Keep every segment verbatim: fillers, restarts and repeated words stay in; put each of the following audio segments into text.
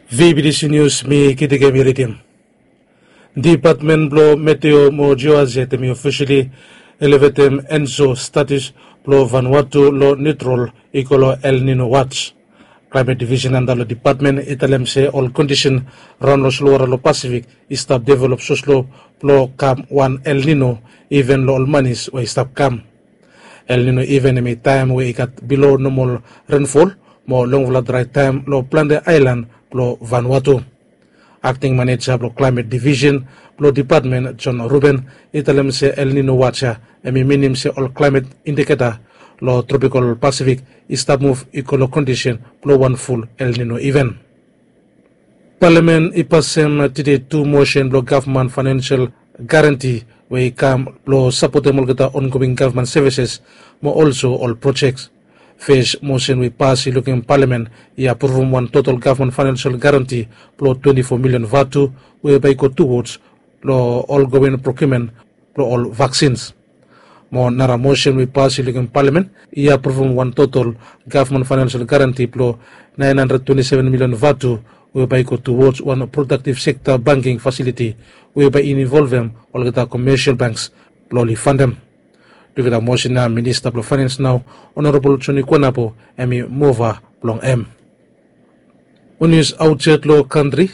Vbtc nius mi kitikemi ridim. Dipatmen blong meteo mo joaset em i ofisili elevetem enso status blong vanwatu long nitrol i go long el nino wats. Klaimet divisen anda long dipatmen i talem se ol kondisen raon long solowara long pasifik i stap develop soslo blong kam wan el nino iven long ol manis we i stap kam. El nino iven em i taem we i gat bilo nomol renfol mo longfala drae taem long plante aelan blong vanwatu. Akting maneja blong klaimet divisen blong dipatmen jon ruben i talem se el nino wats ya em i minim se ol klaimet indiketa long tropikol pasifik i stap muv i go long kondisen blong wan ful el nino iven. Palamen i pasem tide tu mosen blong gavman fainensel garanti we i kam blong sapotem olgeta ongoing gavman sevises mo olso ol projek. Fes mosen we i pas i lukim palamen i apruvum wan total gavman fainensel garanti blong twenti fo milion vatu we bae i go tuwods long olgoing prokiumen blong ol vaksins. Mo nara mosen we i pas i lukim palamen i apruvum wan total gavman fainensel garanti blong naen handred twenti seven milion vatu we bae i go tuwods wan prodaktiv sekta bangking fasiliti we bae i involvem olgeta komesial banks blong oli fandem. Luketa mosen ya minista blong fainens nao, onorabol joni kuanapo em i mova blong em. Ol nius aotsaed long kantri,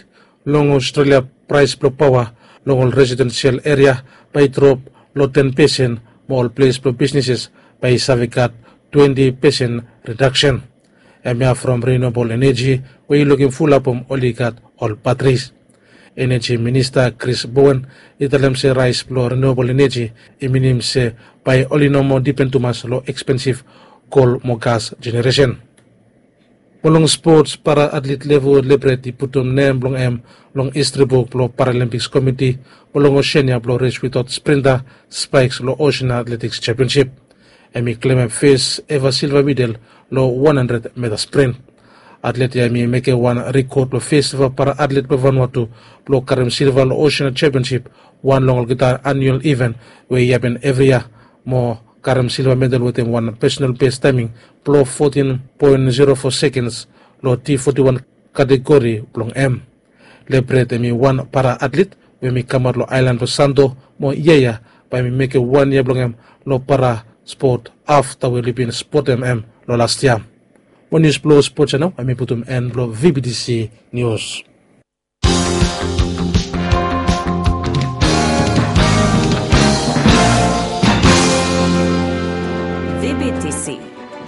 long australia praes blong paoa long ol residensial eria bae i drop long ten pesen mo ol ples blong bisneses bae i save gat twenti pesen redaksen. Hemia from rinobol eneji we i lukim fulap om oli gat ol batris. Eneji minista kris bowen i talem se raes blong rinobol eneji i minim se bae oli no moa dipen tumas long ekspensif kol mo gas jeneresen. Mo long spots para atlet level lebret i putum nem blong hem long histri buk blong paralimpiks komiti mo long osenia blong res witaot sprinta spaeks long osenia atletiks sempionsip. Hem i klemem fes eva silva midel long wan handred meta sprin. Atlet ya hem i mekem wan rekod blong fes eva para atlet blong vanwatu blong karem silva long osenia sempionsip wan long olgeta aniual iven we i hapen evri yia mo karem silva medal wetem wan pesonal bes taeming blong fotin poen zero fo sekens long ti foti wan kategori blong hem. Lebret hem i wan para atlet we hem i kamaot long aelan blong santo mo yia ya bae hem i mekem wan yia blong hem long para spot afta we oli bin spotem hem long las yia. Mo nius blong spot ya nao hem i putum en blong vbtc nius. Vbtc,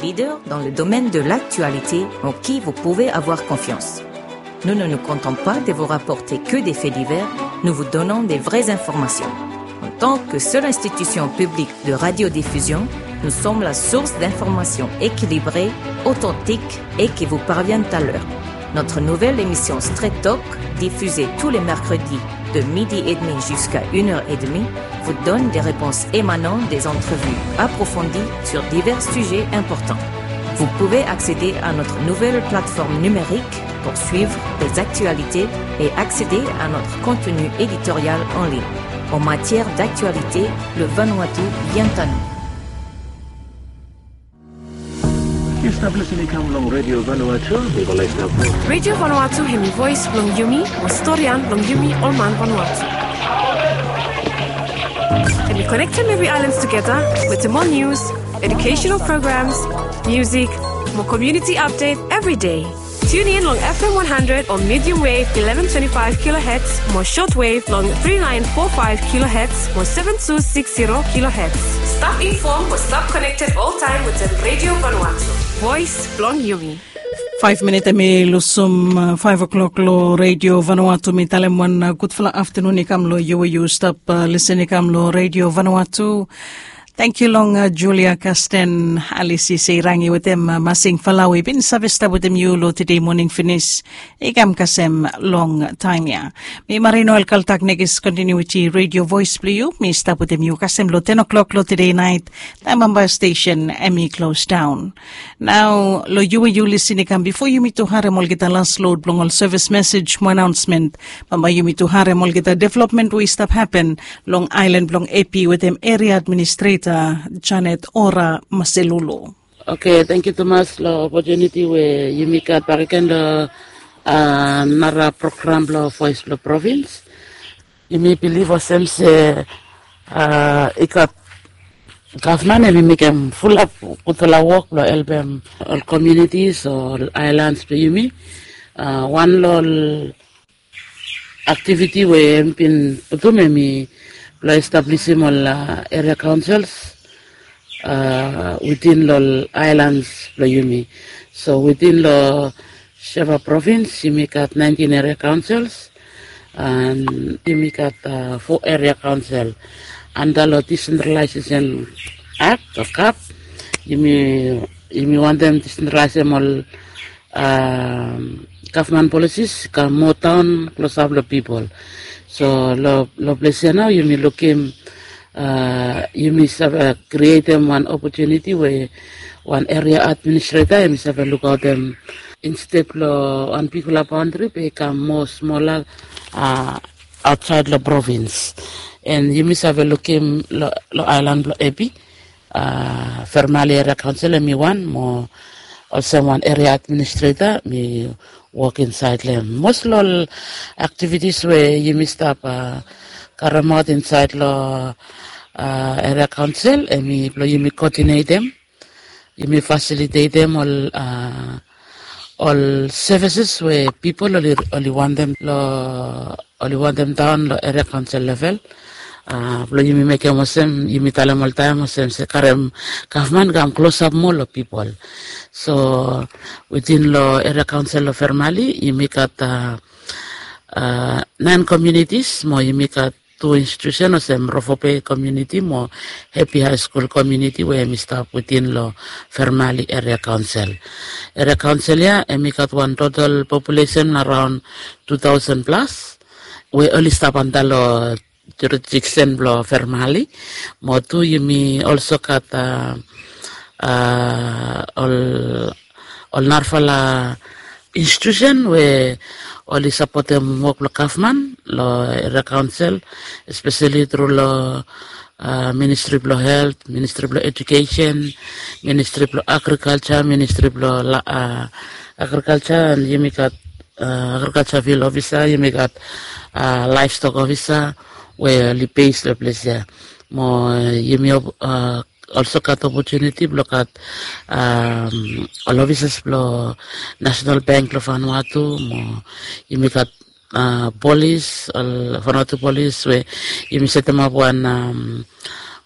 leader dans le domaine de l'actualité en qui vous pouvez avoir confiance. Nous ne nous contentons pas de vous rapporter que des faits divers, nous vous donnons des vraies informations. En tant que seule institution publique de radiodiffusion, nous sommes la source d'informations équilibrées, authentiques et qui vous parviennent à l'heure. Notre nouvelle émission Straight Talk, diffusée tous les mercredis de midi et demi jusqu'à une heure et demie, vous donne des réponses émanant des entrevues approfondies sur divers sujets importants. Vous pouvez accéder à notre nouvelle plateforme numérique pour suivre les actualités et accéder à notre contenu éditorial en ligne. En matière d'actualité, le Vanuatu vient à nous. Yu stap lisin i kam long Radio Vanuatu, mi go laik stap. Radio Vanuatu hemi voes blong yumi, mo storian blong yumi ol man Vanuatu. Hemi konektem evri aelan tugeta wetem ol nius, educational programs, music, mo community update every day. Tune in long F M one hundred on medium wave eleven twenty-five kilohertz mo shortwave long three nine four five kilohertz mo seven two six zero kilohertz. Stap informed mo stap connected all time with the Radio Vanuatu. Voice blong Yumi. Five minute mi lusum uh, five o'clock lo Radio Vanuatu mi talem wan uh, gudfala afternoon i kam lo yu we yu stap uh, listen i kam lo Radio Vanuatu. Tangkiu long Julia Kasten, Alisi Seirangi wetem Masing Falawi bin save stap wetem yu long tede moning finis. I kam kasem long taem ya. Mi Marino El Kaltak nekis kontinuiti redio voes blong yu. Mi stap wetem yu kasem long ten o'clock long tede nait. Taem bambae stesen em i klos daon. Nao long yu we yu lisin i kam bifo yumi tu harem olgeta las lod blong ol sevis mesej mo anaonsmen. Bambae yumi tu harem olgeta developmen we i stap hapen long aelan blong epi wetem eria administreta janet ora maselulu. Oke, tangkiu tumas long opotuniti we yumi gat bakegen long Nara program blong voes blong provins. Yumi bilif olsem se i gat gavman em i mekem fulap gudfala wok blong helpem ol komunitis o ol aelans blong yumi. Wan long ol aktiviti we em bin putum em i blong establisim ol eria kaonsels witin long ol aelans blong yumi. So witin long Sheva provins yumi gat naentin eria kaonsels, an yumi gat fo eria kaonsel anda long disentralaisesen akt o kap. Yumi wantem disentralaisem ol gavman polisis i kam moa daon klosap long pipol. So long ples ya nao yumi lukim yumi save krietem wan opotuniti we wan eria administreta em i save lukaotem insted long wan bigfala baontri be i kam moa smola aotsaed long provins. En yumi save lukim long aelan blong Epi, Fermali eria kaonsel em i wan mo olsem wan eria administreta mi wok insaed long em. Mos long ol aktivitis we yumi stap karemaot insaed long eria kaonsel em i blong yumi koodinetem, yumi fasilitetem ol ol sevises we pipol oli wantem long oli wantem daon long eria kaonsel level. Blong yumi mekem olsem yumi talem oltaem olsem se karem gavman kam klosap moa long pipol. So witin long eria kaonsel long Fermali yumi gat naen komunitis mo yumi gat tu institusen olsem Rofobei komuniti mo Hepi Haeskul komuniti we em i stap witin long Fermali eria kaonsel. Eria kaonsel ya em i gat wan total populesen araon tu taosen plas we oli stap anda long jurisdiksen blong Fermali. Mo tu yumi olso gat ol ol narafala institusen we oli sapotem wok blong gavman long eria kaonsel, espeseli tru long ministri blong helt, ministri blong ejukesen, ministri blong agrikalja, ministri blong agrikalja, an yumi gat agrikalja fil ofisa, yumi gat laevstok ofisa we oli bes long ples ya. Mo yumi olso gat opotuniti blong gat ol ofisas blong Nasenal Bank blong Vanuatu mo yumi gat polis, ol Vanuatu polis we yumi setemap wan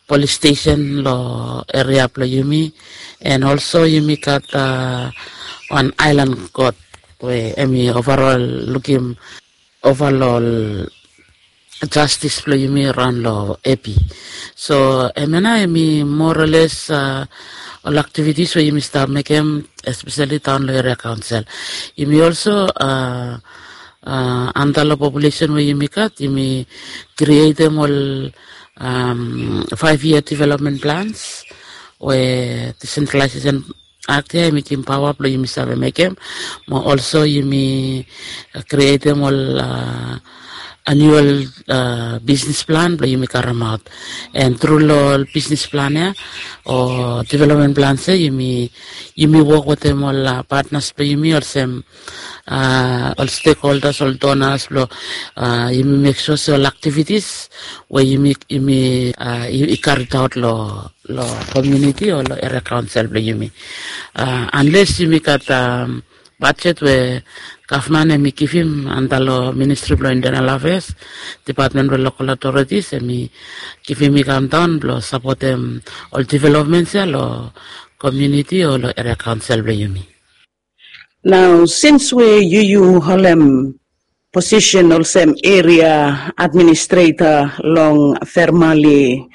polis stesen long eria blong yumi. En olso yumi gat wan aelan kot we em i ovarol lukim ova long ol jastis blong yumi raon long Epi. So hemia nao hemi moa o les ol aktivitis we yumi stap mekem, espeseli daon long eria kaonsel. Yumi olso anda long populesen we yumi gat, yumi krietem ol faev yia developmen plans we disentralaesesen akt ya hemi givim paoa blong yumi save mekem. Mo olso yumi krietem ol anual bisnis plan blong yumi karemaot. En tru long ol bisnis plan ya o developmen plans ya yumi wok wetem ol patnas blong yumi olsem ol stekholdas, ol donas blong yumi mek sua se ol aktivitis we yumi i karitaot long komuniti o long eria kaonsel blong yumi. Anles yumi gat bajet we gavman hemi givim anda long ministri blong intenal afeas, depatmen blong lokal otoritis hemi givim i kamdaon blong sapotem ol developmens ya long komuniti o long eria kaonsel blong yumi. Nao sins we yu yu holem posisen olsem eria administreta long Fermali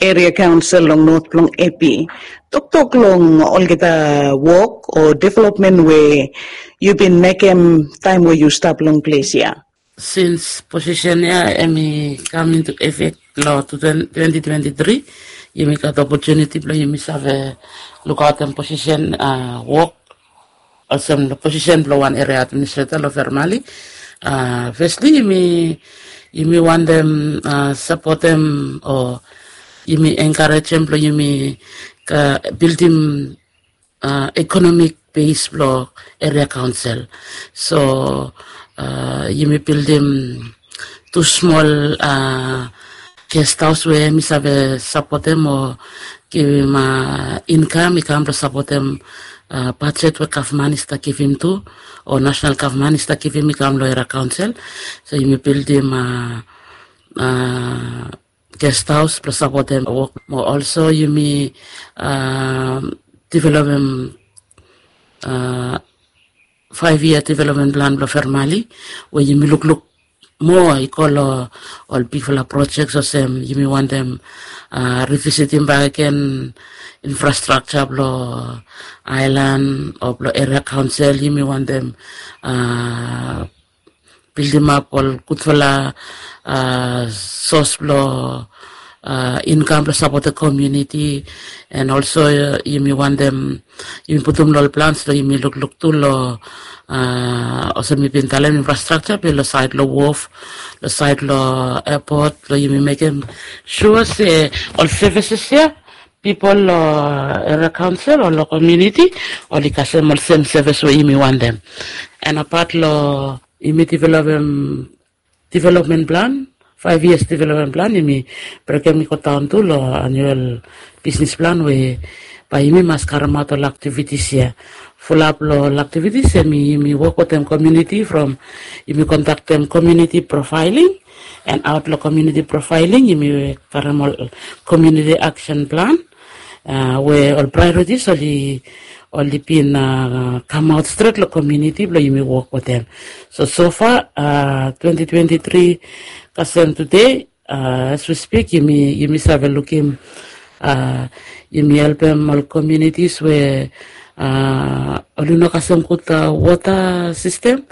eria kaonsel long not blong Epi, toktok long olgeta wok o developmen we yu bin mekem taem we yu stap long ples ya. Sins posisen ya hemi kam intu efek long twenti twenti tri, yumi gat opotuniti blong yumi save lukaotem posisen wok olsem long posisen blong wan eria administreta long Fermali. Fesli yumi wantem sapotem o yumi enkarejem blong yumi bildim ekonomik base blong area council. So yumi bildim tu smol guest house we mi save sapotem o givim income i kam blong sapotem budget we gavman i stap givim tu, o national gavman i stap givim i kam long area council. So yumi bildim guest house blong sapotem wok mo also yumi developem five year development plan blong famili we yumi lukluk moa i go long ol bigfala project olsem yumi wantem revisitim bakegen infrastructure blong island o blong area council. Yumi wantem bildimap ol gudfala sos blong income blong sapotem community. And also yumi wantem yumi putum long ol plans long yumi lukluk tu long olsem mi bin talem infrastructure be long sait long wharf, long sait long airport, long yumi mekem sua se ol services ya pipol long area council o long community oli kasem ol sem service we yumi wantem. And apat long yumi developem development plan, five years development plan yumi brekem i go daun tu long annual business plan we bae yumi mas karemaot ol activities ya. Fulap long ol activities ya yumi wok wetem community from yumi conductem community profiling, and aot long community profiling yumi karem ol community action plan we ol priorities oli oli bin kamaot stret long community blong yumi wok wetem. So so far twenty twenty three kasem tude, as we speak yumi yumi save lukim yumi helpem ol communities we oli no kasem gud water system,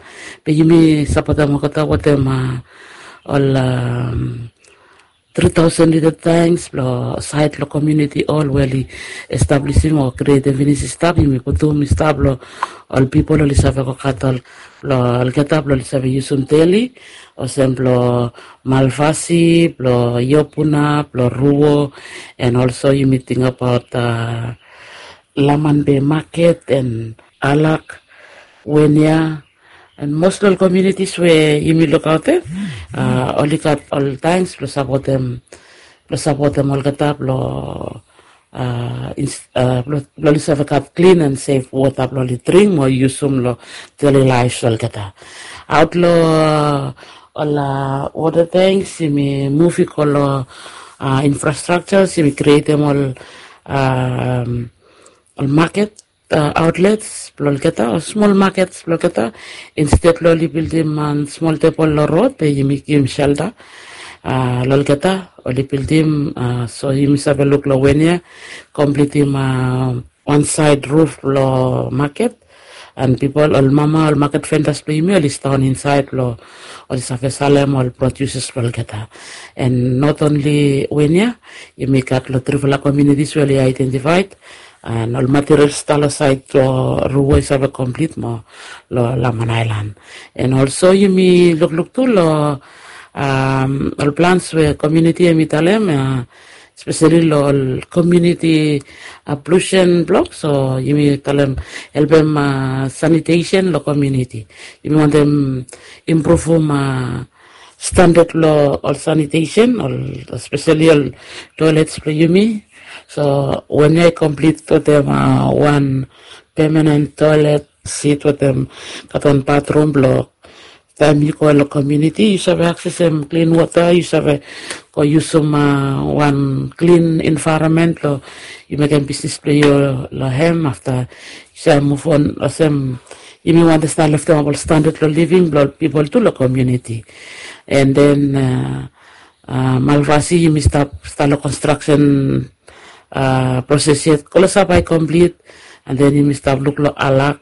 be yumi sapotem olgeta wetem ol three thousand liter tanks blong sait long community hall we oli establishim o krietem finis i stap, yumi putum i stap long ol pipol oli save go gat ol blong olgeta blong oli save yusum deli, olsem blong Malvasi, blong Iopuna, blong Ruo. And also yumi tingbaot Laman Bay market and Alak, Wenia, and most long ol communities we yumi lukaotem oli gat ol tanks blong sapotem blong sapotem olgeta blong blong oli save gat clean and safe water blong oli dring mo yusum long daily lives olgeta. Aot long ol water tanks yumi muv i go long infrastructures, yumi krietem ol ol market outlets blong olgeta o smol markets blong olgeta. Instead long oli bildim wan smol tebol long rod be yumi givim shelter long olgeta oli bildim. So yumi save luk long Wenia komplitim wan sait ruf blong market, and pipol ol mama ol market vendors blong yumi oli sidaon insaed blong oli save salem ol produces blong olgeta. And not only Wenia, yumi gat long trifala communities we oli identified, and ol materials i stap long saed blong Ruo i save komplit mo long Laman Aelan. And also yumi lukluk tu long ol plans we komuniti yumi talem, espeseli long ol komuniti pollution blok. So yumi talem helpem sanitesen long komuniti. Yumi wantem impruvum standad blong ol sanitesen, ol espeseli ol toelets blong yumi. So wen ya i komplit wetem wan pemanen toelet sit wetem gat wan batrum blong taem yu go long komuniti yu save aksesem klin wota, yu save go yusum wan klin envaeronmen blong yu mekem bisnis blong yu long hem. Afta yu save muv on olsem yumi wantem stap leftemap ol standad long living blong ol pipol tu long komuniti. And then Malvasi yumi stap stap long konstraksen proses yet, klosap i komplit. And then yumi stap luk long Alak,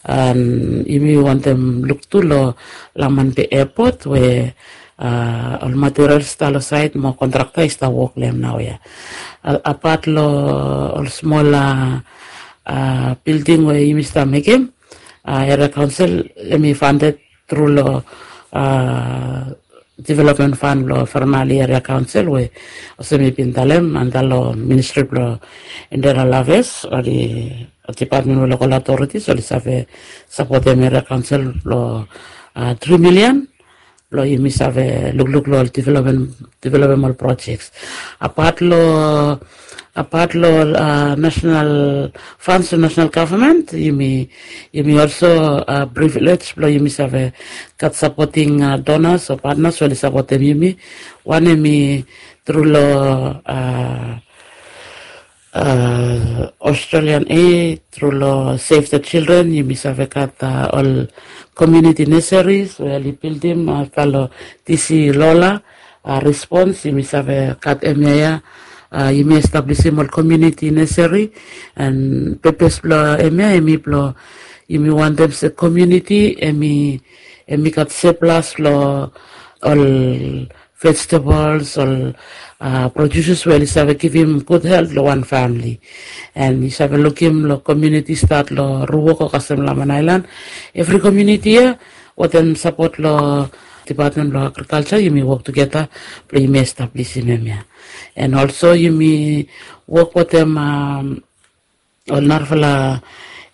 and yumi wantem luk tu long Laman Bay Airport we ol materials i stap long saed mo kontrakta i stap wok long hem naoia. Apat long ol smol bilding we yumi stap mekem, eria kaonsel hemi fandet tru long development fan blong Fermali Area Council we olsem mi bin talem anda long Ministri blong Internal Affairs, oli dipatmen we lokal authorities oli save sapotem Area Council long tri milian blong yumi save lukluk long ol development development ol projects. Apat long apat long national funds to national government, yumi yumi also privilege blong yumi save gat supporting donors o partners we oli sapotem yumi. Wan em i tru long Australian Aid, tru long Save the Children, yumi save gat ol community nurseries we oli bildim afta long DC Lola respons, yumi save gat emia ya. Yumi establisim ol community nursery, and purpose blong emia em i blong yumi wantem se community em i em i gat surplus long ol vegetables, ol producers we oli save givim good health long wan family. And yu save lukim long community start long Ruok o kasem Laman Island, every community ya wetem support long Department blong Agriculture yumi wok tugeta blong yumi establisim em ya. And also yumi wok wetem ol narafala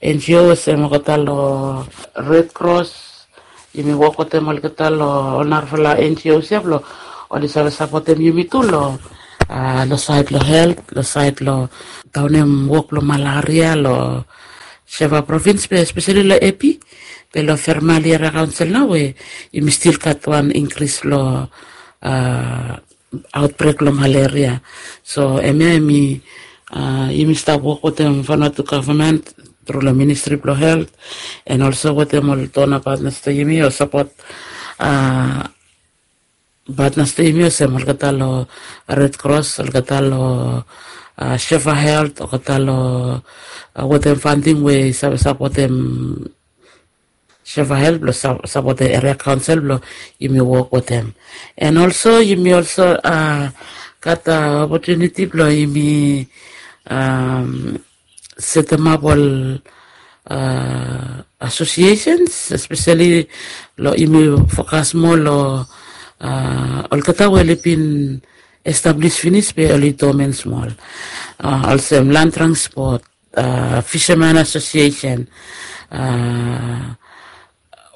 NGOs em olgeta long Red Cross, yumi wok wetem olgeta long ol narafala NGOs ya blong oli save sapotem yumi tu long long sait long health, long sait long daunem wok blong malaria long Sheva provins be especially long Epi, be long Fermali Area Council nao we yumi stil gat wan increase long outbreak long malaria. So em ya em i yumi stap wok wetem Vanuatu gavman tru long Ministri blong Health, and also wetem ol donor partners blong yumi o sapot partners blong yumi olsem olgeta long Red Cross, olgeta long Sheva Health, olgeta long wetem funding we i save sapotem Sheva Health blong sapotem Area Council blong yumi wok wetem. And also yumi also gat opportunity blong yumi setemap ol associations, especially long yumi fokas moa long olgeta we oli bin establis finis be oli dormant smol, olsem Land Transport, Fisherman Association,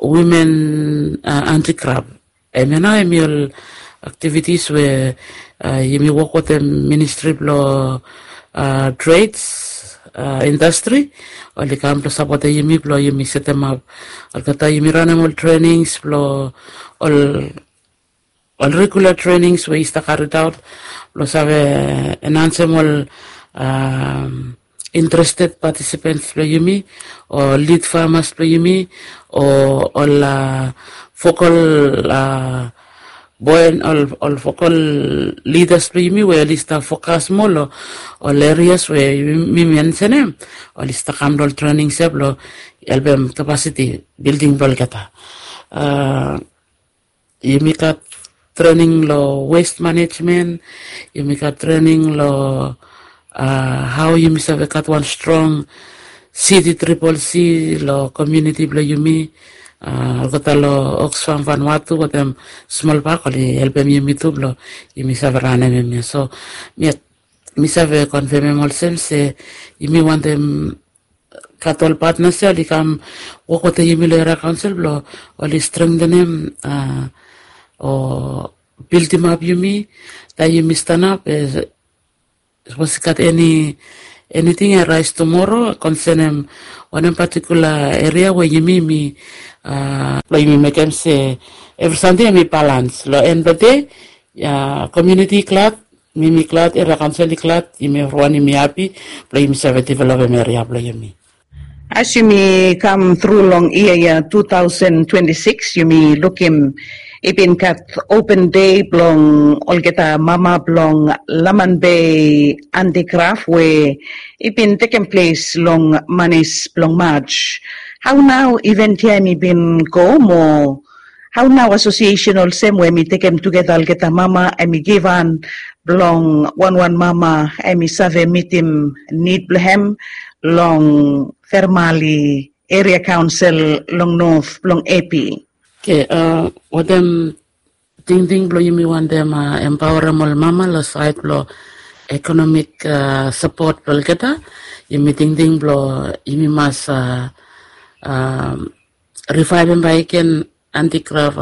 Women Handicraft. Em ya nao em i ol activities we yumi wok wetem Ministri blong Trades, Industry, oli kam blong sapotem yumi blong yumi setemap olgeta, yumi ranem ol trainings blong ol ol regular trainings we i stap karidaot blong save enhansem ol interested participants blong yumi o lead farmers blong yumi o ol vocal boen ol vocal leaders blong yumi we oli stap fokas moa long ol areas we mi mensenem. Oli stap kam long ol trainings ya blong helpem capacity building blong olgeta. Yumi gat trening long waste management, yumi gat trening long hao yumi save gat wan strong city triple C long komuniti blong yumi. Olgeta long Oxfam, Vanuatu wetem Smolbak oli helpem yumi tu blong yumi save ranem hemia. So mi save konfemem olsem se yumi wantem gat ol patnas ya oli kam wok wetem yumi long Area Kaonsel blong oli strengtenem o bildimap yumi taem yumi stanap. Sapos i gat eni eniting i rais tumoro konsenem wanem patikula eria we yumi mi blong yumi mekem se evri samting em i balans long en blong dei. Komuniti i glad, mi mi glad, Area Kaonsel i glad, yumi evriwan yumi hapi blong yumi save developem eria blong yumi. As yumi kam tru long yia ya two thousand twenty-six, yumi lukim i bin gat open dei blong olgeta mama blong Laman Bei Handicraft we i bin tekem ples long manis blong March. Hao nao event ya em i bin go mo hao nao asosiesen olsem we em i tekem tugeta olgeta mama em i givhan blong wanwan mama em i save mitim nid blong hem long Fermali Area Kaonsel long North blong Epi. Oke, wanem tingting blong yumi wantem empaorem ol mama long sait blong ekonomik sapot blong olgeta. Yumi tingting blong yumi mas rivaivim baik gen antikraf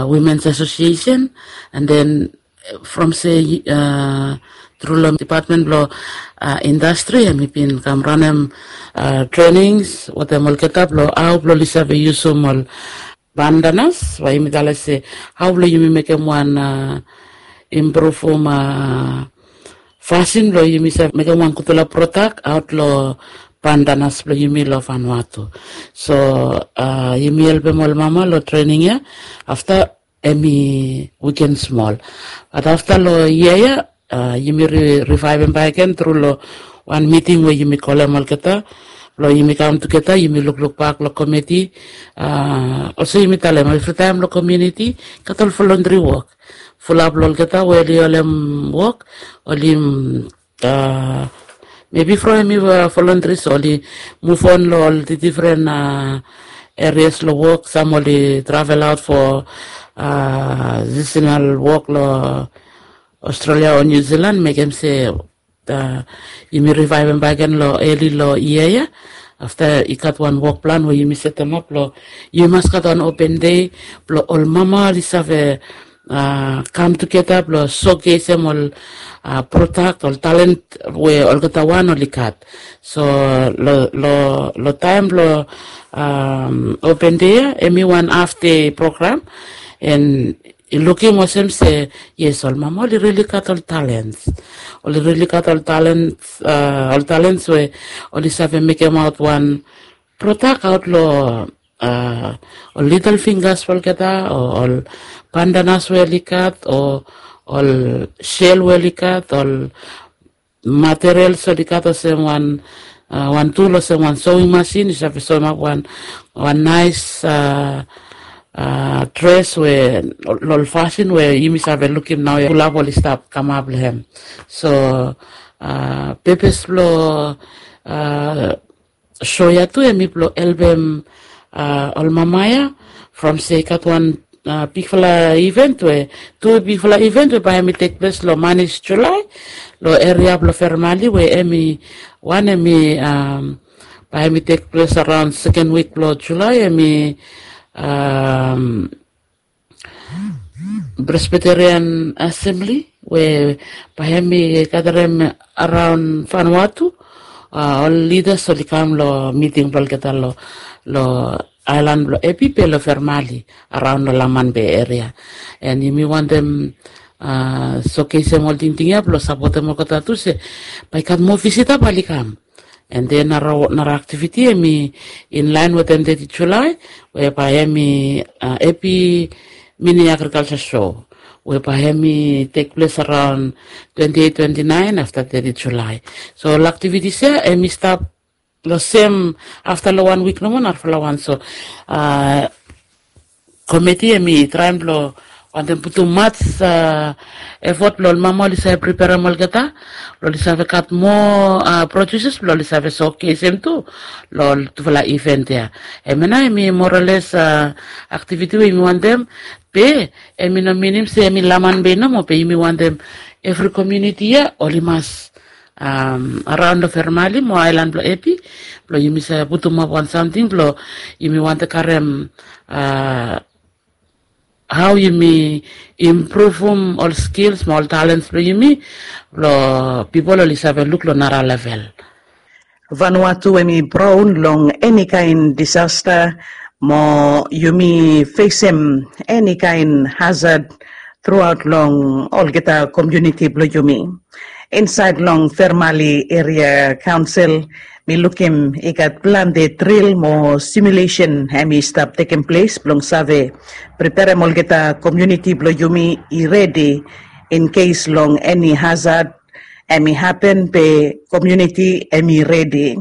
wimens asosiesen. And then from se tru long dipatmen blong indastri em i bin kam ranem trenings wetem olgeta blong hau blong oli save yusum ol bandanas, bae yumi talem se hau blong yumi mekem wan impruvum fasin blong yumi save mekem wan gutpela prodak aot long bandanas blong yumi long Vanuatu. So yumi helpem ol mama long trening ya. Afta em i wiken smol, bat afta long yia ya yumi rivaivim baik gen tru long wan miting we yumi kolem olgeta blong yumi kam tugeta, yumi lukluk bak long komiti. Olsem yumi talem, evritaem long komuniti gat ol voluntary wok. Fulap long olgeta we oli holem wok, oli mebi from em i voluntary, so oli muvon long ol difren areas long wok. Sam oli travel aot fo sisinal wok long Australia o New Zealand, mekem se yumi rivaivim baik gen long eli long yia ya. Afta i gat wan wok plan we yumi setemap long yumi mas gat wan open dei blong ol mama oli save kam tugeta blong sokesem ol prodak, ol talent we olgeta wan oli gat. So long taem blong open dei ya, em i wan haf dei program. And i lukim olsem se yes, ol mama oli rili gat ol talents. Oli rili gat ol talents, ol talents we oli save mekemaot wan prodak aot long ol lidel finggas blong olgeta, o ol bandanas we oli gat, o ol sel we oli gat, ol materials oli gat, olsem wan wan tul olsem wan sewing masin i save sewemap wan wan nais dres we long ol fasin we yumi save lukim naoia, fulap oli stap kamap long hem. So pepes blong so ya tu em i blong helpem ol mama ya. From se i gat wan bigfala event we tu bigfala event we bae em i tekples long manis Julai long eria blong Fermali, we em i wan em i bae em i tekples araon seken wik blong Julai. Em i Presbyterian Assembly we bae em i gadarem araon Vanuatu. Ol lidas oli kam long miting blong olgeta long aelan blong Epi be long Fermali, araon long Laman Bei eria. And yumi wantem sokesem ol tingting ya blong sapotem olgeta tu se bae i gat moa visita bae oli kam. And then nara aktiviti em i inlaen wetem teti Julai, we bae em i Epi mini agrikalsa show, we bae em i tekples araon twenti eit, twenti naen afta teti Julai. So ol aktivitis ya em i stap long sem afta long wan wik nomo narafala wan. So komiti em i traem blong wantem putum mats efot blong ol mama oli save priperem olgeta blong oli save gat moa produses blong oli save sokesem tu long ol tufala event ya. Hemia nao em i moraoles aktiviti we yumi wantem, be em i no minim se em i Laman Bei nomo, be yumi wantem evri komuniti ya oli mas araon long Fermali mo aelan blong Epi blong yumi save putumap wan samting blong yumi wantem karem hao yumi impruvum ol skils mo ol talens blong yumi blong pipol oli save luk long nara level. Vanuatu em i praon long eni kaen disasta mo yumi fesem eni kaen hazad truaot long olgeta komuniti blong yumi. Insaed long Fermali Eria Kaonsel mi lukim i gat plante dril mo simulesen hem i stap tekem ples blong save preperem olgeta komuniti blong yumi i redi in kes long eni hazad hem i hapen be komuniti hem i redi.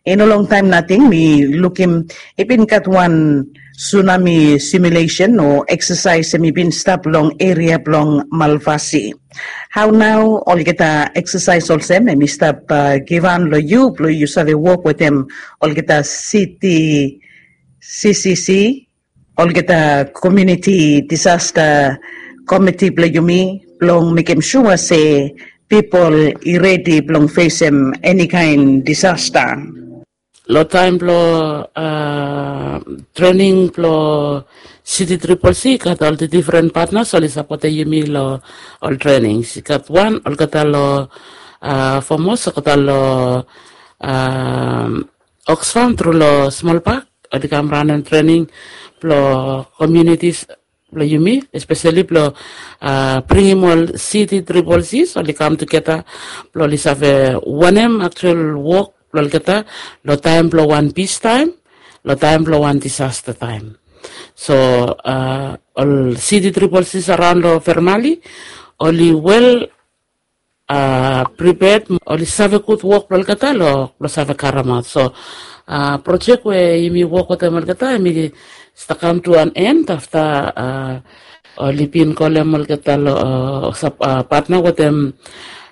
I no longtaem nating mi lukim i bin gat wan sunami simulesen o eksasaes hem i bin stap long eria blong Malvasi. Hao nao olgeta eksasaes olsem hem i stap givhan long yu blong yu save wok wetem olgeta siti CCC olgeta komuniti disasta komiti blong yumi blong mekim sua se pipol i redi blong fesem eni kaen disasta. Long taem blong trening blong City Triple C i gat ol difren patnas oli sapotem yumi long ol trenings. I gat wan olgeta long Fomos, olgeta long Oxfam tru long Smolpak, oli kam ranem trening blong komunitis blong yumi, espeseli blong bringim ol City Triple Cs oli kam tugeta blong oli save wanem aktual wok blong olgeta long taem blong wan pistaem, long taem blong wan disasta taem. So ol City Triple Cs araon long Fermali oli wel priped, oli save gud wok blong olgeta long save karemaot. So projek we yumi wok wetem olgeta, yumi stap kam tu an en afta oli bin kolem olgeta long patna wetem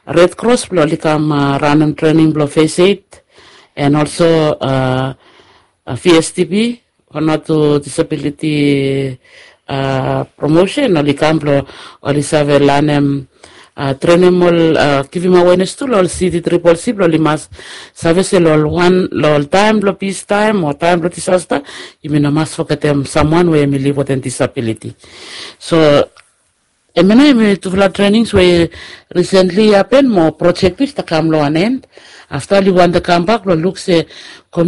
Red Cross blong oli kam ranem trening blong First Aid and also V S D P, Vanuatu Disability Promotion, oli kam blong oli save lanem, trenem ol, givim awenes tu long ol City Triple C blong oli mas save se long ol wan, long ol taem blong pistaem o taem blong disasta, yumi no mas fogetem samwan we yumi liv wetem disabiliti. So hemia nao hemi tufala trenings we risentli i hapen mo projek tu i stap kam long wan en. Afta oli wantem kambak blong luk se